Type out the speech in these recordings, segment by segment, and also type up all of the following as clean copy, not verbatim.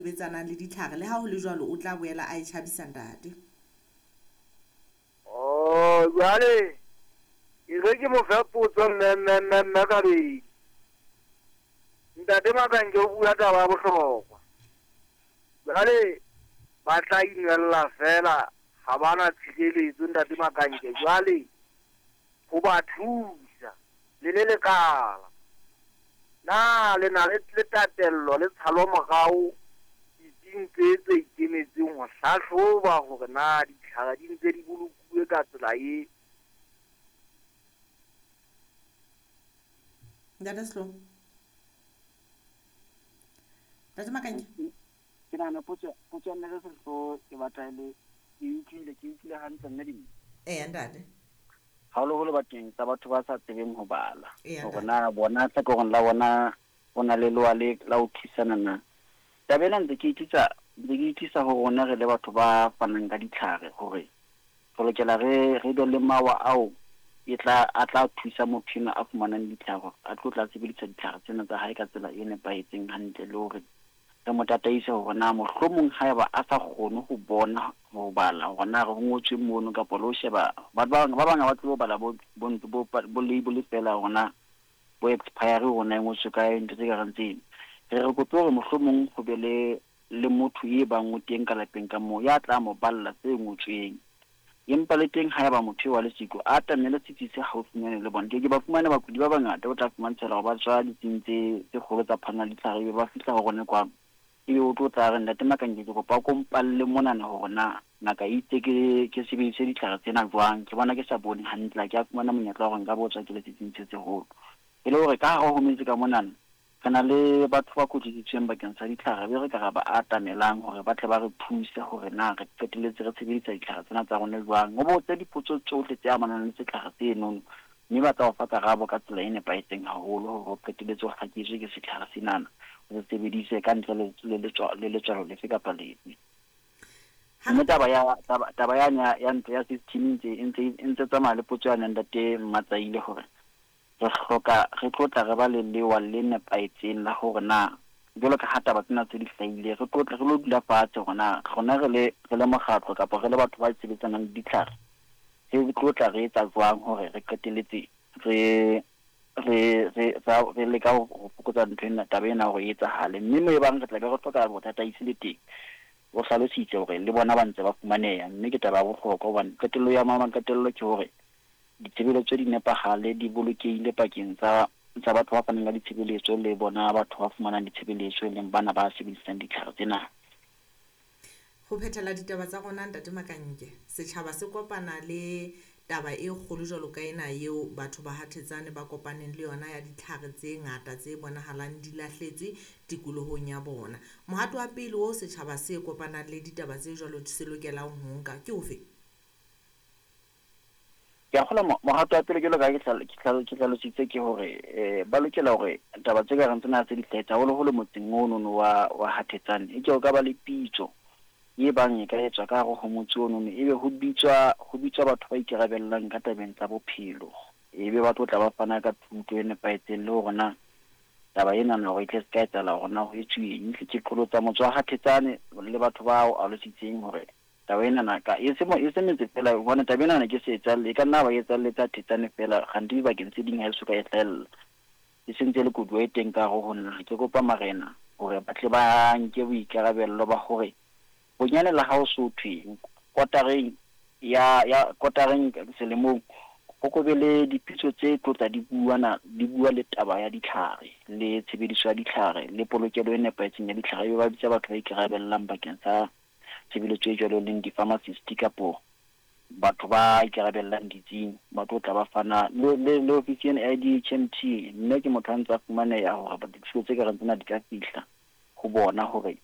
Sebetsanang le ditlhare, le ha ho le jwalo o tla boela a e tjhabisa ntate. Oh, jwale ke re ke mo fe potso mme mme mme mme Kabedi. Ntate Makanke o bua taba ya bohlokwa. Jwale ba tla inwella feela ha ba na tshireletso ntate Makanke. Jwale ho ba thusa le le lekala. Na le na le le tatello le tshalomorao ditsing tse tse ikemetseng ho hlahloba hore na ditlhare di ntse di bolokuwe ka tsela e? Ntate Sehloho. Ntate Makanke. Ke nahana potso potso ya Ntate Sehloho e batla e le ke e utlwile ke utlwile hantle mme Dineo. Eya ntate. Haholoholo bakeng sa batho ba sa tsebeng ho bala, hore na bona hlakoreng la bona ho na le lewa le la ho thusana na. Taba ena ntse ke e tlisa, ntse ke e tlisa ho rona re le batho ba fanang ka ditlhare hore re lokela re re be le mawa ao e tla a tla thusa motho enwa a fumanang ditlhare hore a tlo tla sebedisa ditlhare tsena tsa hae ka tsela e nepahetseng hantle le hore re mo tataise hore na mohlomong haeba a sa kgone ho bona, ho bala hore na re ho ngotsweng mono kapa le ho sheba, batho ba bang ba bang ha ba tsebe ho bala bo bo bo bo label feela hore na bo expiry hore na e ngotswe kae, ntho tse ka reng tseno. Re re kope hore mohlomong ho be le le motho e bang o teng ka lapeng ka moo ya tla mo balla tse ngotsweng. Empa le teng haeba motho eo a le siko, a atamele setsi se haufinyane le bona. Ke ke ba fumane bakudi ba bangata, o tla fumantshela hore ba tswa ditsing tse tse kgolo tsa phano ya ditlhare, ebe ba fihla ho rona kwano. Ebe o tlo tla a re, Ntate Makanke, ke kopa o ko mpalle monana hore na ngaka e itse ke ke sebedise ditlhare tsena jwang. Ke bona ke sa bone hantle, ha ke a fumana monyetla wa hore nka botsa ke le setsing se seholo. E le hore ka hare ho metse ka monana, Re na le batho ba kwetlisitsweng bakeng sa ditlhare be re ka ra ba atamelang hore ba tle ba re thuse hore na re qetelletse re sebedisa ditlhare tsena tsa rona jwang. O botse dipotso tsohle tse amanang le setlhare senono mme ba tla o fa karabo ka tsela e nepahetseng haholo hore o qetelletse o hlaketswe ke setlhare senana o se sebedise ka ntle le le le letswalo lefe kapa lefe. Mme taba ya taba taba yane ya ya ntlo ya system e ntse e ntse e ntse tsamaya le potso yane ya ntate Mmatsaile hore Re hloka re tlo tla re ba le lewa le nepahetseng la hore na jwalo ka ha taba tsena tse di hlahile, re tlo tla re lo dula fatshe hore na rona re le re le mokgatlo kapa re le batho ba sebetsanang le ditlhare, re tlo tla re etsa jwang hore re qetelletse re re re re leka ho fokotsa ntho ena, taba ena hore e etsahale. Mme moo e bang re tla be re hloka botataisi le teng, o hlalositse hore le bona ba ntse ba fumaneha, mme ke taba ya bohlokwa hobane qetello ya maqetello ke hore ditshebeletso di nepahale, di bolokehile pakeng tsa tsa batho ba fanang ka ditshebeletso le bona batho ba fumanang ditshebeletso, e leng bana ba sebedisang ditlhare tsena. Ho phethela ditaba tsa rona, Ntate Makanke, setjhaba se kopana le taba e kgolo jwalo ka ena eo batho ba ha Thetsane ba kopaneng le yona ya ditlhare tse ngata tse bonahalang di lahletswe tikolohong ya bona. Mohato wa pele oo setjhaba se kopanang le ditaba tse jwalo se lokelang ho nka ke ofe? Ke a kgolwa mohato wa pele jwalo ka ha ke hlalositse ke hore ba lokela hore taba tse ka reng tsena tse di hlahetse haholoholo motseng ono wa wa ha Thetsane, e ke o ka ba le pitso e bang e ka etswa ka hare ho motse ono, ebe ho bitswa ho bitswa batho ba ikarabellang ka tabeng tsa bophelo, ebe ba tlo tla ba fana ka thuto e nepahetseng le hore na taba enana hore e tle se ka etsahala hore na ho etsuwe eng. Ke qholotsa motse wa ha Thetsane le batho ba o alositseng hore Taba enana ka e se e se metse feela hobane taba enana ke se etsahalle e ka nna ba e etsahalletse Thetsane feela kgante dibakeng tse ding ha e soka e hlahella. E sentse e le koduwa e teng ka hare ho naha. Ke kopa marena hore ba tle ba nke boikarabello ba hore bonyane le ha ho so thwe kotareng ya ya kotareng selemong ho ko be le dipitso tse tlo tla di buana di bua le taba ya ditlhare le tshebediso ya ditlhare le polokelo e nepahetseng ya ditlhare, ebe ba bitsa batho ba ikarabellang bakeng sa tshebeletso e jwalo e leng di-pharmacist kapo batho ba ikarabellang ditsing ba tlo tla ba fana le, le, le ofisi ena ya DHMT. Mme ke motho a ntse a fumaneha hore dithuso tse ka reng tsena di ka fihla ho bona hore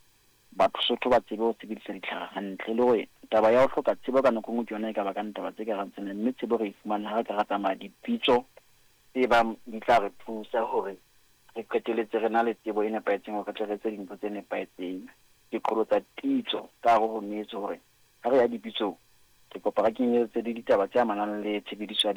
batho Sotho ba tsebe ho sebedisa ditlhare hantle, le hore taba ya ho hloka tsebo ka nako e nngwe ke yona e ka bakang taba tse ka reng tsena, mme tsebo re e fumana ha re ka ra tsamaya dipitso tse bang di tla re thusa hore re qetelletse re na le tsebo e nepahetseng hore re tle re etse dintho tse nepahetseng. Ke qholotsa pitso ka hare ho metse hore ha re ya dipitsong, ke kopa re kenyeletse le ditaba tse amanang le tshebediso ya.